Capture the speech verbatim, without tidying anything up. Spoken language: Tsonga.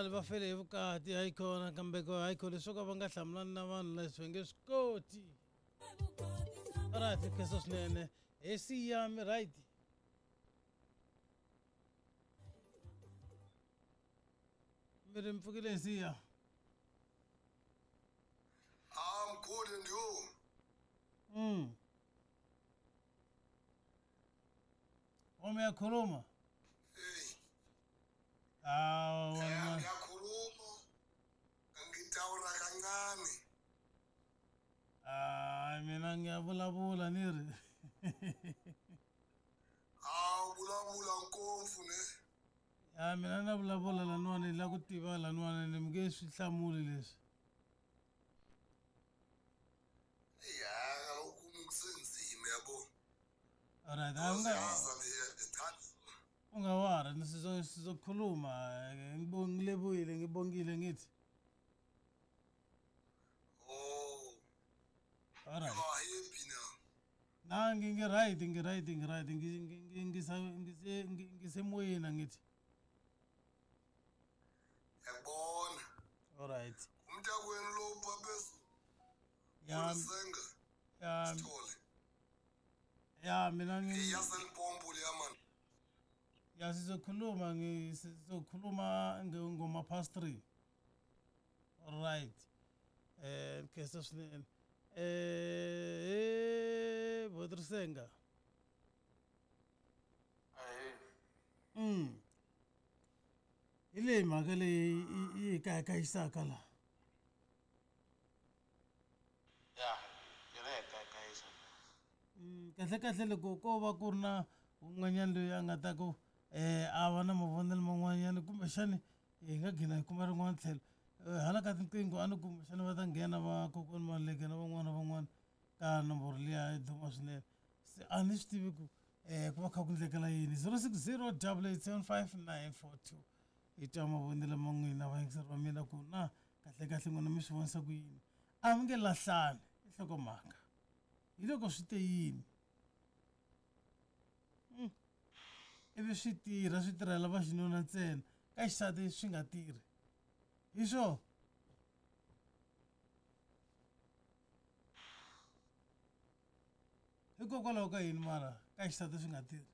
Khale va fele hi vukati hayi khona kambe ko hayi khona leswo ka va nga hlamulani na vanhu leswi va nge swi koti. Alright, khensa swinene. He siyami right. Mi ri mi pfukile siya. I'm good and you? Mm. Uma uyakhuluma? Hey. Ah, Eh, wena. ngiyakhuluma. Ngitawura kancane. Ah, mina ngiyavulavula ni ri. Ah, vulavula ngopfu ne. Ya mina na vulavula laniwani ni lava ku tiva laniwani ni mi nge swi hlamuli leswi. Ya, kaloku kusenzima yabo. Alright, a u nga Uyazi ngiyithanda. u nga wari ni sizo sizokhuluma ngilebuyile ngibongile ngithi. Oh, Alright. you are happy now. Na ngi right ngi right ngi right ngi ngisa ngise ngisemoyeni ngithi. Ngiyabona. Alright. Umntakwenu lo upha phezulu. Ya Ulisenga ya Sithole. ya mina ngi Yaselipompo leya man. ya sizokhuluma ngi sizokhuluma ngoma past three. Alright. Eh khensa swinene. Eh Bodrisenga. Ahee. Mm. Hi leyi mhaka leyi yi hi kayakayisaka la. Ya, yona ya kayakayisa. Mm, kahle kahle loko ko va ku ri na un'wanyana loyi a nga ta ku eh a va na mavonelo man'wanyana kumbexani hi nga gina hi kuma rin'wana tlhelo hala ka tinqingho a ni kumbexani va ta nghena va kokwani Maluleke na van'wana na van'wana ka nomboro liya yi duma swinene se a ni swi tivi ku eh ku va kha ku endlekela yini zero six zero double eight seven five nine four two hi twa mavonelo ma n'wina vayingiseri va mina ku na kahle kahle n'wina mi swi vonisa ku yini a mi nge lahlani i nhlokomhaka hi loko swi te yini Mm. Ivi swi tirha swi tirhela va xinuna ntsena ka xisati swi nga tirhi hi swo hikokwalaho ka yini mara ka xisati swi nga tirhi.